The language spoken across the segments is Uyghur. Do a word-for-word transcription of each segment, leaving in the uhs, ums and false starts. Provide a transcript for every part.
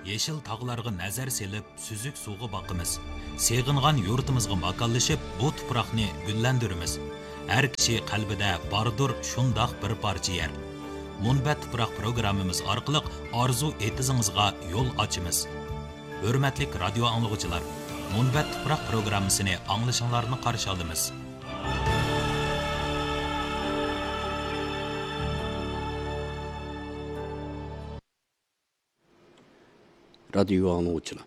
يېشىل تاغلارغا نەزەر سېلىپ، سۈزۈك سۇغا باقىمىز. سېغىنغان يۇرتىمىزغا ماكانلىشىپ، بۇ تۇپراقنى گۈللەندۈرىمىز. ھەر كىشى قەلبىدە باردۇر شۇنداق بىر پارچە يەر. مۇنبەت تۇپراق پروگراممىمىز ئارقىلىق ئارزۇ ئېتىزىڭىزغا يول ئاچىمىز. ھۆرمەتلىك رادىيو ئاڭلىغۇچىلار، مۇنبەت تۇپراق پروگراممىسىنى ئاڭلىشىڭلارنى قارشى ئالىمىز. رادىيو ئاڭلىغۇچىلار،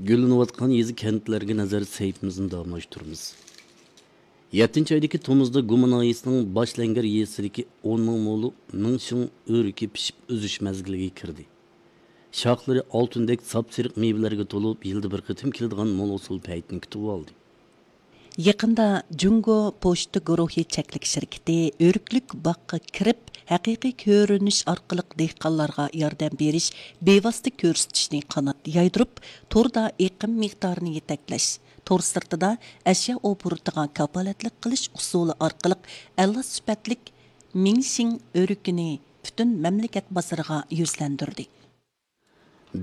گۈللىنىۋاتقان يېزا، كەنتلەرگە نەزەر سەھىپىمىزنى داۋاملاشتۇرىمىز. يەتتىنچى ئايدىكى تومۇزدا گۇما ناھىيەسىنىڭ باشلەنگەر يېزىسىدىكى ئون مىڭ مولۇ مىڭشىڭ ئۆرۈكى پىشىپ ئۈزۈش مەزگىلىگە كىردى. شاخلىرى ئالتۇندەك ساپسېرىق مېۋىلەرگە تولۇپ، يىلدا بىر قېتىم كېلىدىغان مول ھوسۇل پەيتىنى كۈتۈۋالدى. يېقىندا جۇڭگو پوچتا گۇرۇھى چەكلىك شىركىتى ئۆرۈكلۈك باغقا كىرىپ، ھەقىقىي كۆرۈنۈش ئارقىلىق دېھقانلارغا ياردەم بېرىش بىۋاسىتە كۆرسىتىشنى قانات يايدۇرۇپ، توردا ئېقىم مىقدارىنى يېتەكلەش، تور سىرتىدا ئەشيا ئوبوروتىغا كاپالەتلىك قىلىش ئۇسۇلى ئارقىلىق ئەلا سۈپەتلىك مىڭشىڭ ئۆرۈكىنى پۈتۈن مەملىكەت بازىرىغا يۈزلەندۈردى.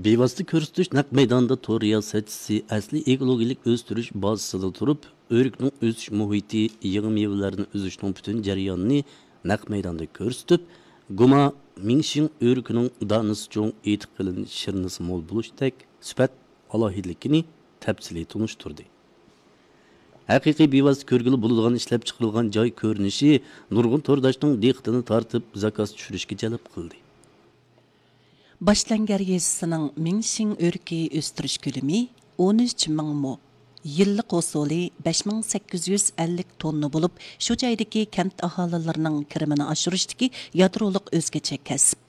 بىۋاسىتە كۆرسىتىش نەق مەيدانىدا تور رىياسەتچىسى ئەسلىي ئېكولوگىيەلىك ئۆستۈرۈش بازىسىدا تۇرۇپ، ئۆرۈكنىڭ ئۆسۈش مۇھىتى، يېڭى مېۋىلەرنى ئۈزۈشنىڭ پۈتۈن جەريانىنى نەق مەيداندا كۆرسىتىپ، گۇما مىڭشىڭ ئۆرۈكىنىڭ دانىسى چوڭ، ئېيتىق قېلىن، شىرنىسى مول بولۇشتەك سۈپەت ئالاھىدىلىكىنى تەپسىلىي تونۇشتۇردى. ھەقىقىي بىۋاسىتە كۆرگىلى بولىدىغان ئىشلەپچىقىرىلغان جاي كۆرۈنۈشى نۇرغۇن تورداشنىڭ دىققىتىنى تارتىپ، زاكاز چۈشۈرۈشكە جەلپ قىلدى. باشلەنگەر يېزىسىنىڭ مىڭشىڭ ئۆرۈكى ئۆستۈرۈش كۆلىمى ئون ئۈچ مىڭ مو، يىللىق ھوسۇلى بەش مىڭ سەككىز يۈز ئەللىك توننا بولۇپ، شۇ جايدىكى كەنت ئاھالىلىرىنىڭ كىرىمىنى ئاشۇرۇشتىكى يادرولۇق ئۆزگىچە كەسىپ.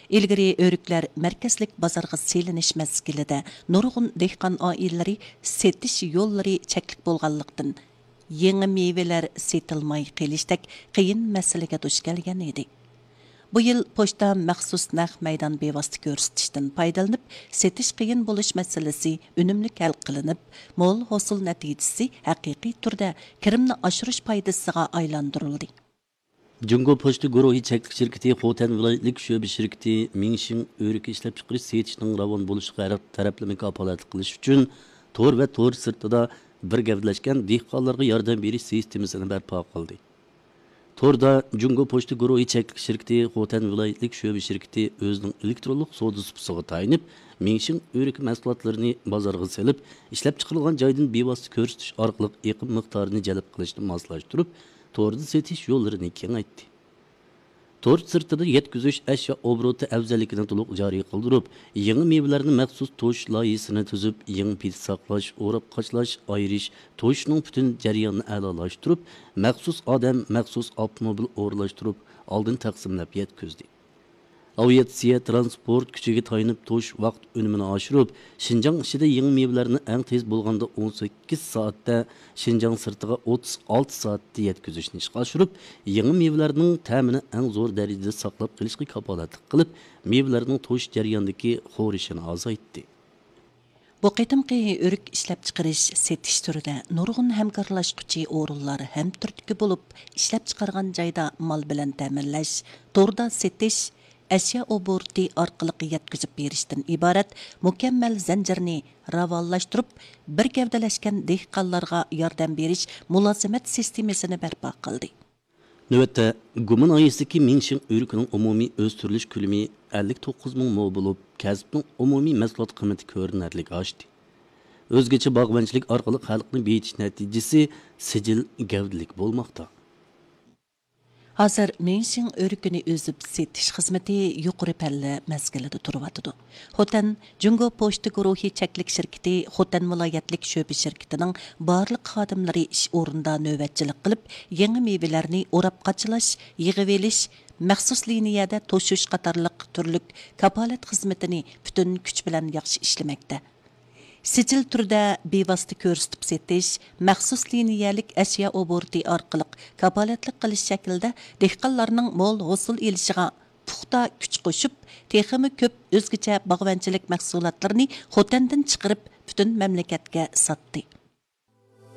ئىلگىرى ئۆرۈكلەر مەركەزلىك بازارغا سېلىنىش مەزگىلىدە نۇرغۇن دېھقان ئائىلىلىرى سېتىش يوللىرى چەكلىك بولغانلىقتىن، يېڭى مېۋىلەر سېتىلماي قېلىشتەك قىيىن مەسىلىگە دۇچ كەلگەن ئىدى. بۇ يىل پوچتا مەخسۇس نەق مەيدان بىۋاسىتە كۆرسىتىشتىن پايدىلىنىپ، سېتىش قىيىن بولۇش مەسىلىسى ئۈنۈملۈك ھەل قىلىنىپ، مول ھوسۇل نەتىجىسى ھەقىقىي تۈردە كىرىمنى ئاشۇرۇش پايدىسىغا ئايلاندۇرۇلدى. جۇڭگو پوچتا گۇرۇھى چەكلىك شىركىتى خوتەن ۋىلايەتلىك شۆبە شىركىتى مىڭشىڭ ئۆرۈكى ئىشلەپچىقىرىش سېتىشنىڭ راۋان بولۇشىغا ھەر تەرەپلىمە كاپالەتلىك قىلىش ئۈچۈن تور ۋە تور سىرتىدا بىر گەۋدىلەشكەن دېھقانلارغا ياردەم بېرىش سىستېمىسىنى بەرپا قىلدى. توردا جۇڭگو پوچتا گۇرۇھى چەكلىك شىركىتى خوتەن ۋىلايەتلىك شۆبە شىركىتى ئۆزىنىڭ ئېلېكترونلۇق سودا سۇپىسىغا تايىنىپ، مىڭشىڭ ئۆرۈكى مەھسۇلاتلىرىنى بازارغا سېلىپ، ئىشلەپچىقىرىلغان جايدىن بىۋاسىتە كۆرسىتىش ئارقىلىق ئېقىم مىقدارىنى جەلپ قىلىشنى ماسلاشتۇرۇپ، توردا سېتىش يوللىرىنى كېڭەيتتى. تور سىرتىدا يەتكۈزۈش ئەشيا ئوبوروتى ئەۋزەللىكىنى تولۇق جارى قىلدۇرۇپ، يېڭى مېۋىلەرنى مەخسۇس توشۇش لايىھىسىنى تۈزۈپ، يېڭى پىدە ساقلاش، ئوراپ قاچىلاش، ئايرىش، توشۇشنىڭ پۈتۈن جەريانىنى ئەلالاشتۇرۇپ، مەخسۇس ئادەم، مەخسۇس ئاپتوموبىل ئورۇنلاشتۇرۇپ، ئالدىن تەقسىملەپ يەتكۈزدى. ئاۋىئاتسىيە تىرانسپورت كۈچىگە تايىنىپ توشۇش ۋاقىت ئۈنۈمىنى ئاشۇرۇپ، شىنجاڭ ئىچىدە يېڭى مېۋىلەرنى ئەڭ تېز بولغاندا ئون سەككىز سائەتتە، شىنجاڭ سىرتىغا ئوتتۇز ئالتە سائەتتە يەتكۈزۈشنى ئىشقا ئاشۇرۇپ، يېڭى مېۋىلەرنىڭ تەمىنى ئەڭ زور دەرىجىدە ساقلاپ قېلىشقا كاپالەتلىك قىلىپ، مېۋىلەرنىڭ توشۇش جەريانىدىكى خورىشىنى ئازايتتى. بۇ قېتىمقى ئۆرۈك ئىشلەپچىقىرىش، سېتىش تۈرىدە نۇرغۇن ھەمكارلاشقۇچى ئورۇنلار ھەمتۈرتكە بولۇپ، ئىشلەپچىقارغان جايدا مال بىلەن تەمىنلەش، توردا سېتىش، ئەشيا ئوبوروتى ئارقىلىق يەتكۈزۈپ بېرىشتىن ئىبارەت مۇكەممەل زەنجىرنى راۋانلاشتۇرۇپ، بىر گەۋدىلەشكەن دېھقانلارغا ياردەم بېرىش مۇلازىمەت سىستېمىسىنى بەرپا قىلدى. نۆۋەتتە، گۇما ناھىيەسىدىكى مىڭشىڭ ئۆرۈكىنىڭ ئومۇمىي ئۆستۈرۈلۈش كۆلىمى ئەللىك توققۇز مىڭ مو بولۇپ، كەسىپنىڭ ئومۇمىي مەھسۇلات قىممىتى كۆرۈنەرلىك ئاشتى. ئۆزگىچە باغۋەنچىلىك ئارقىلىق خەلقنى بېيىتىش نەتىجىسى سىجىل گەۋدىلىك بولماقتا. ھازىر مىڭشىڭ ئۆرۈكىنى ئۈزۈپ سېتىش خىزمىتى يۇقىرى پەللە مەزگىلىدە تۇرۇۋاتىدۇ. خوتەن جۇڭگو پوچتا گۇرۇھى چەكلىك شىركىتى خوتەن ۋىلايەتلىك شۆبە شىركىتىنىڭ بارلىق خادىملىرى ئىش ئورنىدا نۆۋەتچىلىك قىلىپ، يېڭى مېۋىلەرنى ئوراپ قاچىلاش، يىغىۋېلىش، مەخسۇس لىنىيەدە توشۇش قاتارلىق تۈرلۈك كاپالەت خىزمىتىنى پۈتۈن كۈچ بىلەن ياخشى ئىشلىمەكتە. سىجىل تۈردە بىۋاسىتە كۆرسىتىپ سېتىش، مەخسۇس لىنىيەلىك ئەشيا ئوبوروتى ئارقىلىق كاپالەتلىك قىلىش شەكلىدە دېھقانلارنىڭ مول ھوسۇل ئېلىشىغا پۇختا كۈچ قوشۇپ، تېخىمۇ كۆپ ئۆزگىچە باغۋەنچىلىك مەھسۇلاتلىرىنى خوتەندىن چىقىرىپ، پۈتۈن مەملىكەتكە ساتتى.